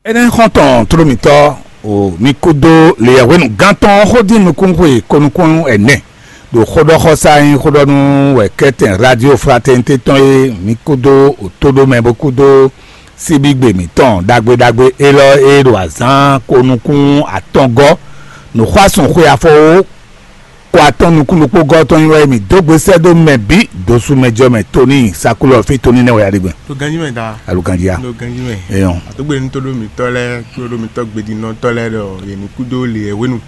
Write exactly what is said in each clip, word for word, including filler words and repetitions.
Énɛ́ xɔ́ntɔn tlómítɔ́ o, mi kúdó leyɛhwenu gán tɔn xó dín nukúnxwe konukún ɛnɛ ɖo xóɖɔxɔsá nyí xóɖɔnú wɛ kɛ́tɛn Radio Fraternité tɔn e mi kúdó otóɖomɛ bó kúdó síbígbe mǐtɔn ɖagbe ɖagbe élɔ́ e ɖo azǎn konukún atɔngɔ́ nǔxwásún xwe afɔwó kɔ atɔn nukún ɖokpó gɔ́ tɔn nyi wɛ mǐ dó gbe sɛ́ dó mɛ bǐ dǒsú mɛ jɔ mɛ Toni Sakulɔ fí Toni nɛ́ wɛ aɖegbɛ. Ɖo ganjí mɛ da. Aluganjia. Ɖo ganjí mɛ. Eyɔn. Àtúgbè ní tó ɖó mǐtɔ́ lɛ́ɛ kplé ɖó mǐtɔ́ gbedinɔtɔ́ lɛ́ɛ ɖɔ yě ní kú dó lě e hwenu.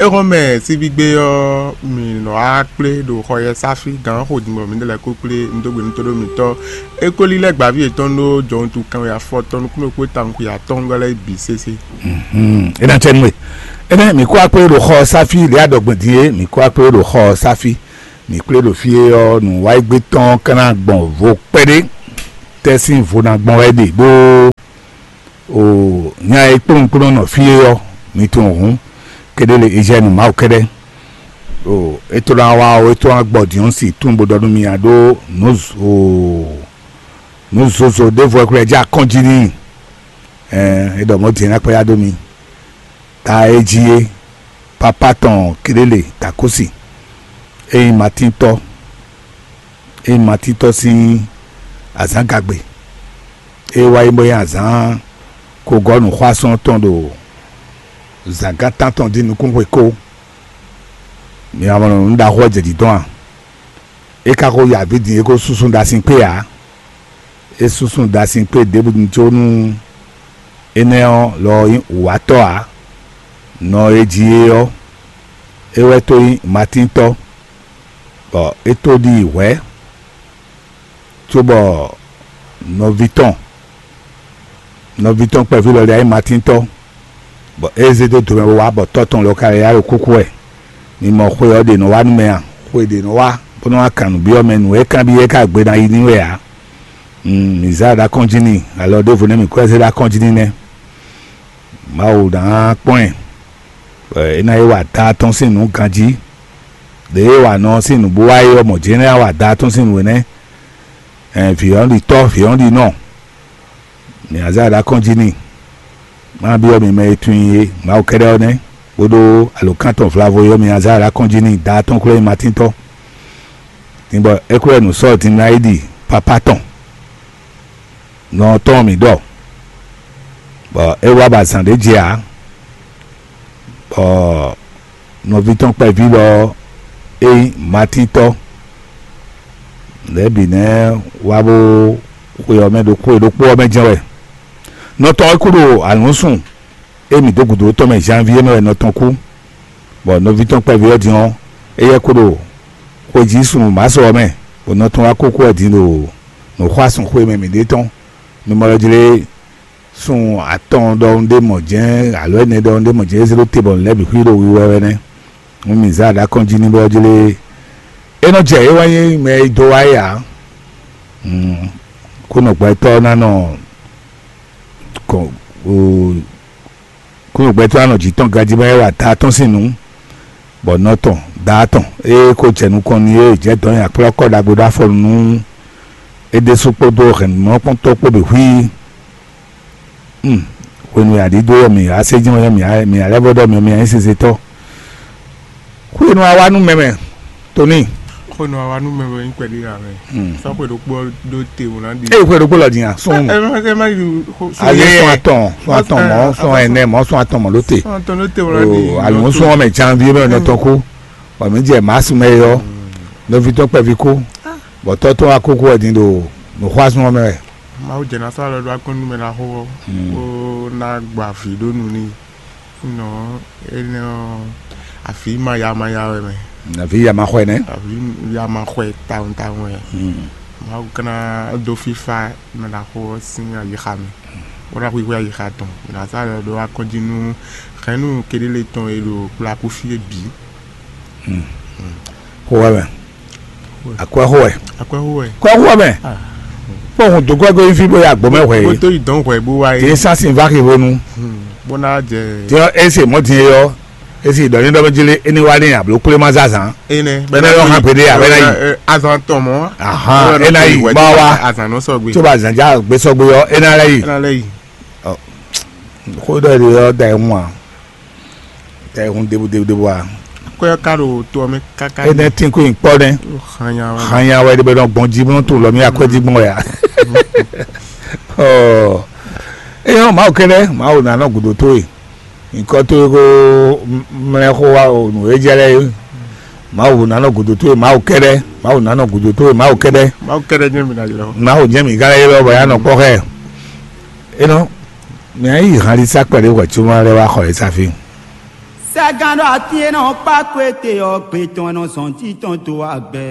Éhɔn mɛ síbígbe ɔ́, mǐ nɔ wá kplé ɖo xɔ yɛ sáfí gǎn xo din bɔ mǐ ɖe lɛ́ɛ kó kplé ní dó gbe ní tó ɖó mǐtɔ́. É kó lílɛ́ gbǎví yětɔn ɖó jɔwuntu kanwe afɔtɔn nukún ɖokpó tawun xwe atɔ́ɔ́ngɔ́ lɛ́ɛ bǐ sésé. É ná cɛ nú we. Énɛ́ mǐ kó akpé ɖo xɔ sáfí lě aɖɔgbɛn din é, mǐ kó akpé ɖo xɔ sáfí. Mǐ kplé ɖo fí é ɔ́, nǔwáyígbé tɔn ka ná gbɔn vo kpɛɖé. Tɛ́ sín vo ná gbɔn wɛ ɖe ɖó o nya e kplɔ́nkplɔ́n nɔ fí é ɔ́, mi tunwun hǔn, kéɖé le Ezyɛ́nu Mawu kɛ́ɖɛ́. O é tó ná wá o é tó ná gbɔ dǐɔ́n si tún bó ɖɔ nú mi a ɖó nǔ o nǔ zozo ɖěvo wɛ xwlɛ jɛ akɔ́n jí n'i. Ɛɛ é ɖɔ mɔ̌ din é ná kpɛ́ yá dó mi. Ta e jí é, papá tɔn Kelele Takúsi, é nyí Matíntɔ́, é nyí Matíntɔ́ sín azǎngagbe, é wá yi bó nyí azǎn kogɔ́ nǔxwásɔ́n tɔn ɖo zǎngán tántɔn dín nukúnxwe kó. Mi ma mɔ nǔ ɖaxó ɔ́ jɛ jǐ dɔn a? É ka ko ya avǐ din é ko súnsún ɖo asin kpé ǎ. É súnsún ɖo asin kpé ɖěbǔ din có nú énɛ́ ɔ́ lɔ nyí wǔwatɔ́ ǎ. Nɔ e jí é ɔ́, é wɛ tó nyí Matíntɔ́, bɔ é tó ɖi hwɛ̌, cóbɔ nɔví tɔn nɔví tɔn kpɛví lɔ ɖe ayé Matíntɔ́, bɔ é zé dó domɛ bó wá bɔ tɔ́ tɔn lɔ ka lɛ́ yá ɖo kúkú wɛ. Mi mɔ xwe ɔ́ ɖě nɔ wá nú mɛ a? Xwe ɖě nɔ wá bó nɔ́ wá kan nǔ byɔ́ mɛ nǔ e kanbyɔ́ é ka gbe ná yi ní wɛ ǎ. Mǐ zá ɖo akɔ́njí n'i, alɔ ɖěvo nɛ́ mǐ kó ɛ zé ɖo akɔ́njí n'i nɛ́. Mawu ná kpɔ́n ɛ, bɔ é ná yi wa ta tɔn sín nǔ ganjí. Ɖě é wa nɔ sín nǔ bó wá é ɔ́, mɔ̌ jɛ́n é ná wa da tɔn sín nǔ énɛ́. Ɛn vǐ ɔ́ ɖi tɔ́, vǐ ɔ́ ɖi nɔ. Mǐ ná zá ɖo akɔ́njí n'i. Má byɔ́ mi mɛ e tunwun i é, Mawu kɛ́ɖɛ́ ɔ́ nɛ́, bó ɖó alǒkan tɔn vlavo e ɔ́, mǐ ná zá ɖo akɔ́njí n'i, da tɔn xwlé nyí Matíntɔ́. Din bɔ é xwlɛ́ nǔ sɔ́ din ná yi ɖi papá tɔn. Nɔ tɔn mǐ ɖɔ, bɔ é wá ba zǎn ɖé jɛ ǎ, bɔ nɔví tɔn kpɛví lɔ é nyí Matíntɔ́. Lɛ̌ bǐ nɛ́ wá bó xwe ɔ́ mɛ ɖo xwe ɖokpó ɔ́ mɛ jɛ́n wɛ. Nɔ tɔn é kú ɖo alǔnsun e mǐ dó gǔdo tɔn mɛ Janvier mɛ wɛ nɔ tɔn kú, bɔ nɔví tɔn kpɛví ɔ́ din ɔ́, éyɛ́ kú ɖo xwejí sunnu Maso ɔ́ mɛ, bɔ nɔ tɔn wá kókó wɛ din ɖo nǔxwásún xwe mɛ mǐɖée tɔn. Mi mɔ lɔ jlé sun atɔn ɖɔhun ɖé mɔ jɛ́n alo ɛnɛ ɖɔhun ɖé mɔ jɛ́n é zé ɖó te bɔ nǔ lɛ́ɛ bǐ xwí ɖo wiwa wɛ nɛ́. Hǔn mǐ zá ɖo akɔ́njí n'i bɔ jlé é nɔ jɛ é wɛ nyí mɛ e dó wá é ǎ. Kúnɔgbɛtɔ́ ná nɔ kɔn kúnɔgbɛtɔ́ ná nɔ jǐ tɔn ganjí mɛ é wa ta tɔn sín nǔ, bɔ nɔ tɔn da tɔn ée ko jɛ nukɔn n'i é jɛ dɔ̌n nyi akplɔ́kɔ ɖagbe ɖó afɔ nú é ɖésú kpódó hɛ̌nnumɔ́kpɔ́ntɔ́ kpó bǐ xwí. Hwenu e aɖǐ dó ɔ́, mǐ wá sé jɛ́n ɔ́, mǐ wá lɛ́ vɔ́ ɖɔ mǐ mǐ nyí sese tɔ́. Xwenu a wá nú mɛ mɛ, Toni. Xwenu a wá nú mɛ mɛ nyí kpɛɖé ǎ mɛ. Sɔ́ xwe ɖokpó ɔ́ ɖó te wǒ ná ɖi. Eye xwe ɖokpó lɔ din a sún. Ɛ má ɛ má yi xo sún Ayi yɛ. Sún atɔn, sún atɔn mɔ, sún ɛnɛ mɔ, sún atɔn mɔ ló te. Sún atɔn ló te wǒ ná ɖi. O alo sún ɔmɛ janvier mɛ nɔ tɔn kó. Bɔ mǐ jɛ mars mɛ yɔ. Nɔvi tɔn kpɛvi kó. Bɔ tɔ́ tɔn wá kókó wɛ din ɖo nǔxwásún ɔmɛ wɛ. Mawu jɛ ná sɔ́ alɔ ɖó akɔ́nú mɛ ná xo ɔ́, bó ná gba avǐ ɖó nu n'i. Nɔ énɛ́ ɔ́, avǐ ma ya ma ya wɛ mɛ. Nɔví ya ma xɔ ɛ nɛ. Avǐ ya ma xɔ ɛ tawun tawun wɛ. Mawu ka ná dó fífá mɛ ná xo ɔ́ sín ayixa mɛ, bó ná xwixwɛ ayixa tɔn. Mǐ ná sɔ́ alɔ ɖó akɔ́njí nú hɛ̌nnu kéɖélé tɔn e ɖo kplakú fí é bǐ. Xó wɛ mɛ. Akwɛ́xó wɛ. Akwɛ́xó wɛ. Kwɛ́xó wɛ mɛ. Kpɔ́n hun dǒ gbɛ́gbɛ́ fí bó yá gbɔ̌ mɛ hwɛ Bó é. Tó yi dɔn hwɛ bó wá Din é. Sásìn vá xi hwenu. Bó ná jɛ. Din ɔ́, é se mɔ̌ din é ɔ́, é se ɖɔ ní ɖɔ mɛ jlé é ní wá ní abló kplé má zázan. Énɛ́. Bɛ́ ná yɔ hàn pé dé, abɛ́ ná yi. Azan tɔn mɔ. Ahan, é ná yi, bá wa. Azan nɔ sɔgbe. Tí o bá zan já gbé sɔgbe ɔ́, é ná lɛ́ yi. É ná lɛ́ yi. Ɔ. Xó ɖɔ ɖe ɔ́ da ɛ hun a? Da ɛ hun debu debu debu a? Kɔ́ ɔ́ ka ɖo to ɔ́ mɛ káká. Énɛ́ tín kó nyi kpɔ́ nɛ́. Hanya wɛ. Hanya wɛ ɖe bɛ nɔ gbɔn jí bó nɔ tunwun lɔ mì akwɛ́ jí gbɔn wɛ a? Ɔ, é nyɔ́ Mawu kɛ́ɖɛ́, Mawu ná nɔ gǔdo towe. Nyǐkɔ towe ko mlɛ́ xó wá o nǔ e jɛ lɛ́ɛ é. Mawu ná nɔ gǔdo towe Mawu kɛ́ɖɛ́, Mawu ná nɔ gǔdo towe Mawu kɛ́ɖɛ́. Mawu kɛ́ɖɛ́ jɛ́n mi ná ylɔ́. Mawu jɛ́n mǐ ka lɛ́ ylɔ́ bɔ yá nɔ kpɔ́ xɛ. É nɔ, mǐ ná yi hanlísá kpɛɖé hwɛ̌ cóbɔ lɛ́ wá xɔ yě sá fí. Sɛgán ɖɔ atín e nɔ kpá kó ete ɔ́, gbe tɔn e nɔ zɔn jí tɔn dó agbɛ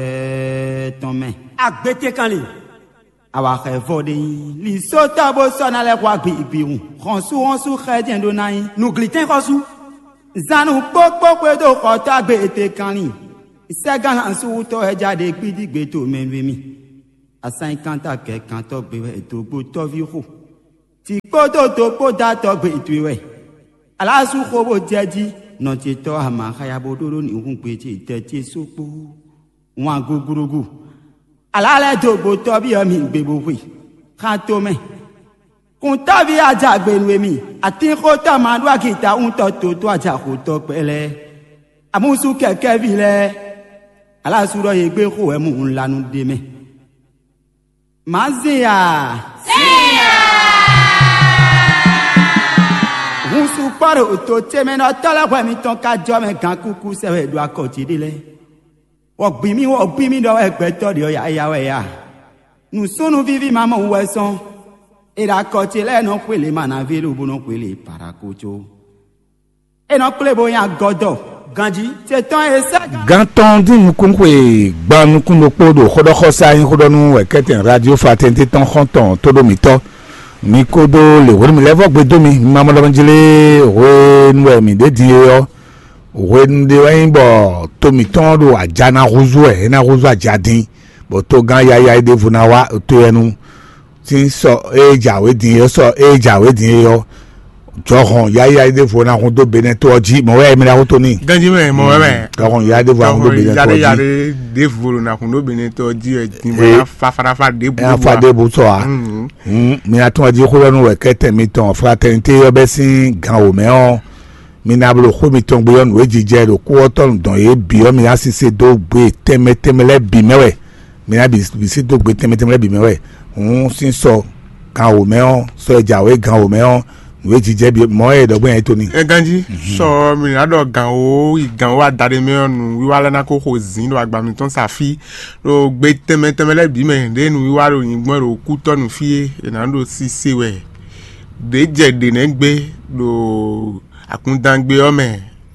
tɔn mɛ. Agbetekanlin. Awa xɛ vɔ ɖe nyi. Lǐsótɔ́ bó sɔ́ ná lɛ́ xwá gbigbihun. Xɔ́nsúxɔ́nsú xɛ jɛ́n ɖó ná nyí. Nǔglítɛ́n xɔ́sú. Zan nǔ kpókpó xwedó xɔtɔ́ agbe ete kanlin. Sɛgán lan súwútɔ́ wɛ ja ɖe gbídígbe to mɛ nú émí. Asanyíkántá kɛkantɔ́ gbe wɛ dǒgbotɔ́ví xo. Tǐ kpódó do kpó dó atɔ́ gbe towe wɛ. Alású xo bó jɛ jí, nɔ ce tɔ́ ama xaya bó ɖó ɖó nǐhúngbe ce tɛ ce só kpó. Wǎn gúgúrúgú. Alá lɛ́ dó gbotɔ́ví ɔ́ mi gbe bó xwe. Xán tomɛ. Kuntɔ́ví ajagbe nú émí, atínxótɔ́ ma ɖó agita wúntɔ́ totó ajaxotɔ́ kpɛ́ lɛ́ɛ. Amúsú kɛkɛ́ví lɛ́ɛ. Alású ɖɔ yě gbé xo wɛ mú un la nú ɖ'é mɛ. Mǎ zin a? Zin a? Hun sukpɔ́ ɖo to ce mɛ nɔ tɔ́ lɛ́ hwɛ mitɔn ka jɔ mɛ gankúkú sɛ wɛ ɖo akɔ ce ɖé lɛ́ɛ. Wɔ̌gbín mì wɔ̌gbín mì ɖɔ wɛ gbɛtɔ́ ɖě ɔ́ yáyá wɛ a? Nǔsúnnú víví ma mɔ wú wɛ sɔ́n. È ɖo akɔ ce lɛ́ɛ nɔ xwé lě manaví lobo nɔ xwé lě paɖako có. É nɔ kplé bó nyí agɔ́dɔ. Ganjí. Ce tɔn e sɛ́ gán. Gán tɔn dín nukún xwe gban nukún ɖokpó ɖo xóɖɔxɔsá nyí xóɖɔnú wɛ kɛ́tɛn radio fraternité tɔn xɔ́ntɔn tóɖó mǐtɔn. Mi kódó lě hwenu mi lɛ́ vɔ́ gbe dó mi, mi ma mɔ ɖɔ mi jlé hwenu wɛ mǐ ɖe din é ɔ́. Hwenu ɖé wɛ nyí bɔ to mǐtɔn ɖo aja ná húzú wɛ, é ná húzú aja dín, bɔ togán yáyá é ɖěvo ná wá to yɛ nu. Sín sɔ ée jǎwe din é, sɔ ée jǎwe din é ɔ́, jɔhɔn yáyá ɖěvo ná hun dó Benɛ́to ɔ́ jí, mɔ̌ wɛ émí ná xótó n'i. Ganjí mɛ mɔ̌ wɛ mɛ. Jɔhɔn yáyá ɖěvo ná hun dó Benɛ́to ɔ́ jí. Ɖěvo ná hun dó Benɛ́to ɔ́ jí wɛ din bɔ é ná fa faɖafa ɖěbǔ. É ná fa ɖěbǔ sɔ ǎ. Hǔn mi ná tún ɔ́ jí xó ɔ́ nú wɛ kɛ́tɛn mitɔn fraternité ɔ́ bɛ́ sín gan wǒ mɛ ɔ́, mi ná bló xó mitɔn gbe ɔ́ nǔ e jijɛ ɖo kú ɔ́ tɔn dɔn yě bǐ ɔ́, mi ná sise dó gbe tɛnmɛ tɛnmɛ lɛ́ɛ bǐ mɛ wɛ. Mi ná bǐ sí dó gbe tɛnmɛ tɛnmɛ lɛ́ɛ bǐ mɛ wɛ. Hǔn sín sɔ gan wǒ mɛ ɔ́, sɔ e jǎwe gan wǒ mɛ ɔ́, nǔ e jijɛ bǐ mɔ̌ e ɖɔ gbɔn nyi to ní. É ganjí sɔ mi ná ɖɔ gǎn wǒ yi gǎn wǒ adaɖé mɛ ɔ́, nǔwiwa lɛ́ɛ ná kó xo zǐn ɖo agba mitɔn sa fí, ɖo gbe tɛnmɛ tɛnmɛ lɛ́ɛ bǐ mɛ ɖěe nǔwiwa ɖo nyǐgbɔ́n ɖo kútɔ́ nú fí e è nǎ ɖo sise wɛ. Ɖě jɛ ɖě nɛ́ gbé ɖo akúndángbe ɔ́ mɛ,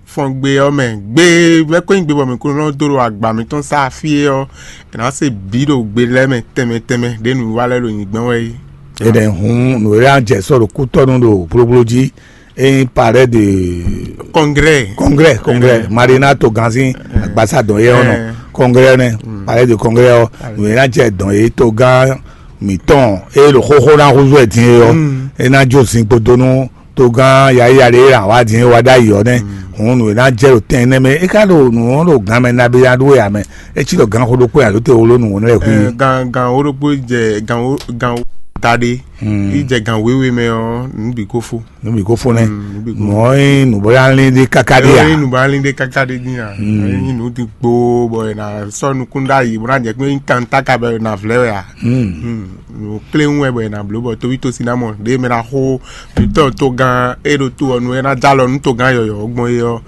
fɔngbe ɔ́ mɛ, gbe mɛ ko nyí gbe bɔ mǐ ko nɔ dó ɖo agba mǐtɔn sá fí é ɔ́, è nǎ se bǐ ɖo gbe lɛ́ɛ mɛ tɛnmɛ tɛnmɛ ɖě nǔwiwa lɛ́ɛ ɖo nyǐgbɔ́n wɛ é. Énɛ́ hǔn nǔ e ná jɛ sɔ́ ɖo kútɔ́ nú ɖo blóbló jí, é nyí palais de Congrès. Congrès, congrès, Marina to ganzin agbasa dɔn yɛ ɔnɔ. Congrès nɛ, palais de congrès ɔ, nǔ e ná jɛ dɔn yě togán mǐtɔn e ɖo xóxó ná húzú ɛ din é ɔ́, é ná jó zinkpo dó nú togán yayá ɖé e wá din é wá ɖ'ayǐ ɔ́ nɛ́. Hǔn nǔ e ná jɛ ɖo tɛn énɛ́ mɛ é ká ɖo nǔ ɔ́ ɖo gan mɛ nabí ná ɖú wɛ ǎ mɛ. É cí ɖɔ gǎn xó ɖokpó nya ɖó te wló nǔ wɔn lɛ́ɛ hu. Gan gan wo ɖokpó jɛ gan wo gan wo da ɖé. Yi jɛ gan wéwe mɛ ɔ́, nǔ bǐ ko fó. Nǔ bǐ ko fó nɛ́. Mɔ̌ é nyí nǔbɔ́yánlín ɖé káká ɖé Ɛ a? Nyí nǔbɔ́yánlín ɖé káká ɖé dín a? Nyí nǔ dín gboo bɔ è nǎ sɔ́ nukún ɖ'ayǐ bó ná jɛ kpé nyí kantáka bɔ è nǎ vlɛ́ wɛ a? Nǔ kléwún wɛ bɔ è nǎ bló bɔ tóvítósi ná mɔ ɖě mɛ ná xó mitɔn togán e ɖo to ɔ́ nu é ná jɛ alɔ nú togán yɔ̌yɔ́ gbɔn é ɔ́,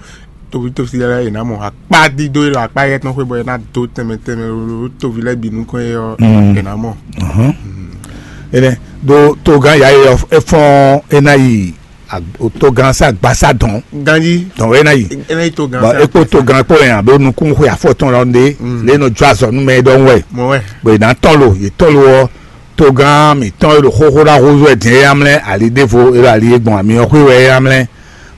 tóvítósi lɛ́ɛ è nǎ mɔ akpá dídó e ɖo akpá éyɛ́ tɔn xwé bɔ è nǎ dó tɛnmɛ tɛnmɛ ɖo tóvi lɛ́ɛ bǐ nukɔn é ɔ́, è nǎ mɔ. Énɛ́ ɖó togán yǎ e ɔ́ é fɔ́n é ná yi togán sá gbasá dɔn. Ganjí dɔn wɛ é ná yi. É ná yi togán bɔn sá é kpó togán kpó yẹn abe nukún xwe afɔtɔn lɔ ndé lé nɔ jó azɔ nú mɛ é ɖɔhun wɛ. Mɔ wɛ. Bɔ è nǎ tɔn lo yě tɔn lo ɔ́, togán mǐtɔn e ɖo xóxó ɖó axózú wɛ din é yá mlɛ́ ali ɖěvo é ɖo ali e gbɔn amyɔ xwé wɛ é yá mlɛ́.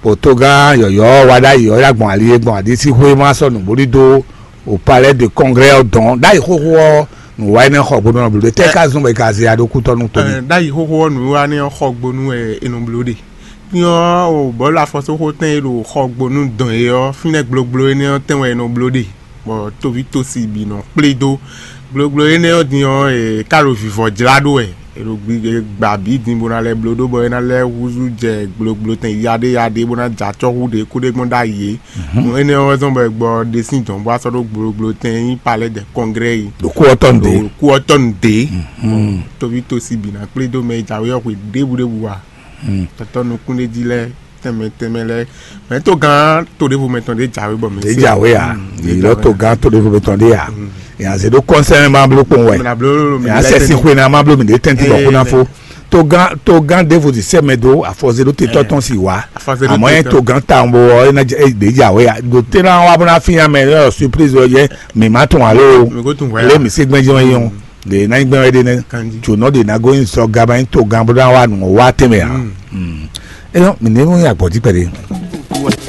Bɔ togán yɔ̌yɔ́ wa ɖ'ayǐ ɔ́ é ná gbɔn ali e gbɔn aɖisíxwé má sɔ́ nǔbóli dó o palais de congrès ɔ́ dɔn ɖ'ayǐ xóxó ɔ́, nǔ wa énɛ́ xɔ gbónú ɔ́ bló ɖe tɛ́ ká zɔ́n bɔ è ka zɛ ya ɖó kútɔ́ nú toní. Ɖ'ayǐ xóxó ɔ́ nǔ wa énɛ́ xɔ gbónú wɛ è nɔ bló ɖe. Nyɔ o bɔ̌lu afɔsóxó tɛn e ɖo xɔ gbónú dɔn é ɔ́, fínɛ́ gblogblo énɛ́ ɔ́ tɛn wɛ è nɔ bló ɖe, bɔ tóví tósi bǐ nɔ kplé dó. Gblogblo énɛ́ ɔ́ din ɔ́, è ká ɖo vivɔ jlá ɖó wɛ. È ɖo gbi- è gba bǐ din bó ná lɛ́ bló ɖó bɔ é ná lɛ́ húzú jɛ gblogblo tɛn yaɖé yaɖé bó ná jɛ acɔ́ hú ɖě kú ɖé gbɔn ɖ'ayǐ é. Nǔ énɛ́ ɔ́ wɛ zɔ́n bɔ è gbɔ ɖe sín dɔ̌n bó wá sɔ́ ɖó gblogblo tɛn nyí palais des congrès yi. Ɖo kú ɔ́ tɔn ɖě. Kú ɔ́ tɔn ɖě. Tóví tosi bǐ ná kplé dó mɛ e jǎwe ɔ́ xwe ɖěbǔ ɖěbǔ wa. Tɔtɔ nukúnɖéjí lɛ́ɛ tɛnmɛ tɛnmɛ lɛ́ɛ mɛ togán to ɖěvo mɛ tɔn ɖé jǎwe bɔ mɛ ɖé jǎwe a? Yìlɔ togán to ɖěvo mɛ tɔn ɖé a? Yà zé ɖó kɔnsɛn ma bló kpɔn wɛ. Yà sɛ sin xwe na ma bló mi ɖé tɛnti bɔ kó ná fó. Togán togán ɖěvo ti sɛ mɛ dó afɔzé ɖó tetɔ tɔn si wá. Àmọ́ yẹn togán ta ń bɔ ẹ ná ɖé jǎwe a? Ɖo tẹ́ náà wá bó ná fi yàn mɛ ẹ surprise ɔ yẹ mi má tún alo. Lé mi sí gbɛ́njọ́ yẹn o. Ɖe ná nyí gbɛ́ wɛ ɖe nɛ́. Tsǒnɔ ɖe ná gosín sɔ gaba nyí togán bó ná wá nǔ wá tɛnmɛ ǎ. Éyɔ́, mǐ ní mú agbɔ̌ jí kpɛɖé.